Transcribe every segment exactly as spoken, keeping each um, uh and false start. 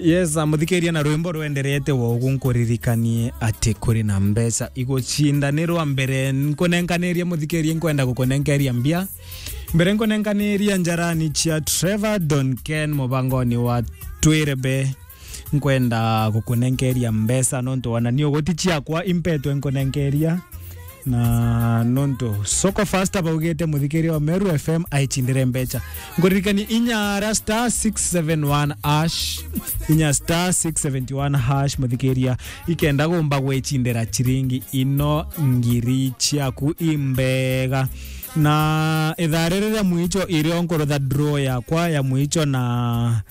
Yes, muthikiria, na rwimbo rwenderete wa ugu nkuririkanie ati kuri na mbeca igucindanirwa. Mbere nkunenkaniria muthikiria, nkwenda gukunenkeria mbia. Mbere nkunenkaniria njarani cia Trevor Don Ken mubangoni wa Twirebe. Nkwenda gukunenkeria mbeca nontu wana ni uguti ciakwa impetwe nkunenkeria. Na nontu Soko Fasta baugite muthikiria wa Meru F M aicindire mbeca. Nkuririkanie inya ara star six seven one hash, inya star six seventy one hash muthikiria, ikenda gumba gwicindira ciringi ino ngiri ciaku imbega. Na ithaa riri ria mwicho irio nkurutha draw yakwa ya mwicho, na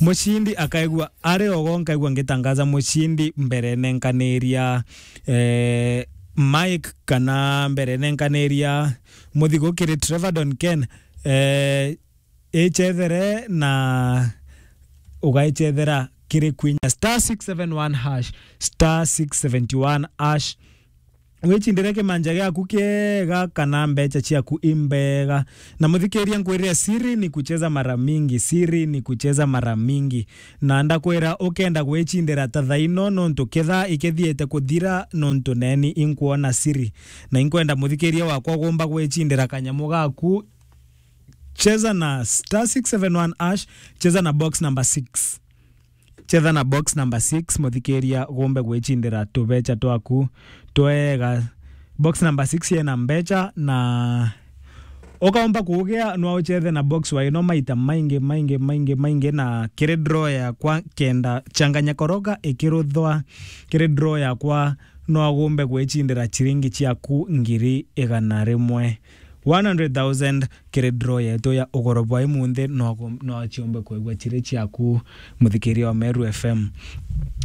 mucindi akaigua ari ogo, nkaigua ngitangaza mucindi mbere nenkaniria eh, Mike kana mbere nenkaniria muthigo kiri Trevor Don Ken, eh, icethere na ugaicethera kiri kwinya star six seven one hash, star six seventy one hash. Wicindire kimanja giaku kiega kana mbeca ciaku imbega. Na muthikiria, nkwirire siri ni kucheza mara mingi, siri ni kucheza mara mingi. Na ndakwira ukenda gwicindira ta thaino nontu ketha ikethiete kuthira nontu neni inkwona siri. Na inkwenda muthikiria wakwa gumba gwicindira kanyamu gaku. Cheza na star six seven one hash, cheza na box number six. Cheza na box number six, muthikiria gumbe gwicindira tubecha twaku twega. Box number six yena mbecha na ukaomba kugia no uchethe na box wa ino maita maingi, maingi, maingi, maingi, na kiri draw yakwa kenda changanya koroga ikiruthwa kiri draw yakwa no agumbe gwicindira chiringi chiaku ngiri igana rimwe. One hundred thousand kiri draw yetu ya ugoro bwa imunthi no agu-, no achiombe kwigua chiri chiaku muthikiria wa Meru F M.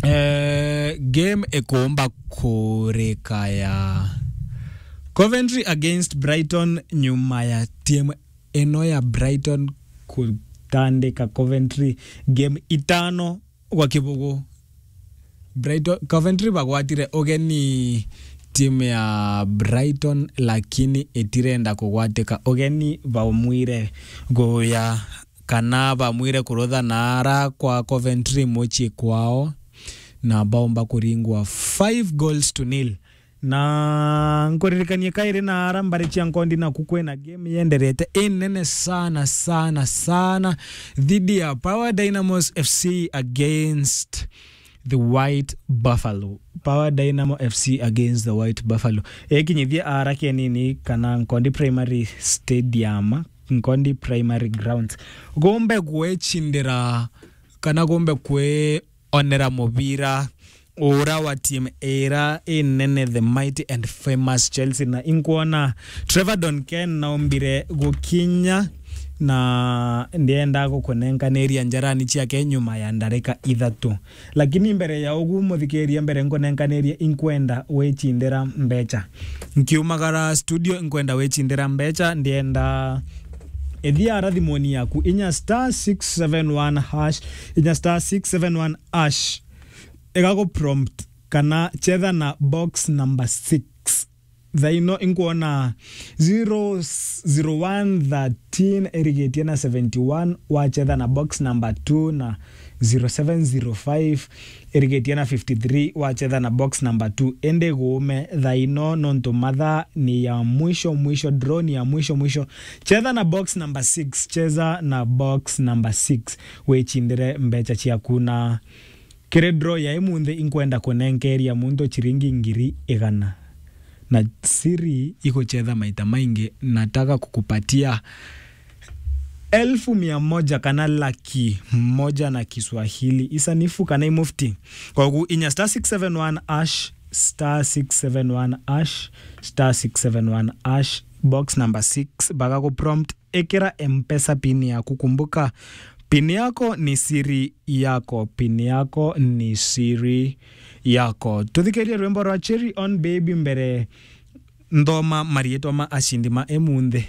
Eh, game ikumba kurika ya Coventry against Brighton nyuma ya timu ino ya Brighton kutandika Coventry game itano gwa kibugu. Brighton, Coventry bagwatire ugeni timu ya Brighton, lakini itirenda kugwatika ugeni, baumwire guya kana bamwire kurutha naara kwa Coventry mucii kwao, na baumba kuringwa five goals to nil. Na nkuririkanie kairi na ara mbari cia nkondi naku kwina game yenderete inene sana, sana, sana, thidi ya Power Dynamos F C against the White Buffalo. Power Dynamo F C against the White Buffalo. Ekinyithie ara kenini kana Nkondi Primary Stadium, Nkondi Primary Grounds. Gombe gwechindira kana gombe kwe onera mubira ura wa timu ira inene, the mighty and famous Chelsea, na inkwona Trevor Don Ken naumbire gukinya, na ndienda gukunenkaniria njarani ciake nyuma ya ndarika ithatu. Lakini mbere ya ugu, muthikiria, mbere nkunenkanirie, inkwenda wicindira mbecha. Nkiumagara studio, inkwenda wicindira mbecha, ndienda ithia ara thimuni yaku, inya star six seven one hash, inya star six seven one hash, igagu prompt kana chetha na box number six. Thaino inkwona zero zero one thirteen irigitie na seventy one, wachetha na box number two, na zero seven zero five irigitie na fifty three, wachetha na box number two. Indi guume thaino nontu mathaa ni ya mwisho mwisho, draw ni ya mwisho mwisho. Chetha na box number six, cheza na box number six, wichindire mbecha ciaku. Na kiri draw ya imunthi, inkwenda kunenkeria muntu chiringi ngiri igana. Na siri iguchetha maita maingi, nataka kukupatia elfu mia moja kana laki moja na Kiswahili isanifu kana imufti. Kogu inya star six seven one hash, star six seven one hash, star six seven one hash, box number six, bagagu prompt, ekera M-Pesa pin yaku. Kumbuka, pin yako ni siri yako, pin yako ni siri yako. Tuthikirie rwimbo rwa Cherry on Baby mbere nthoma mariitwa ma ashindi ma imunthi.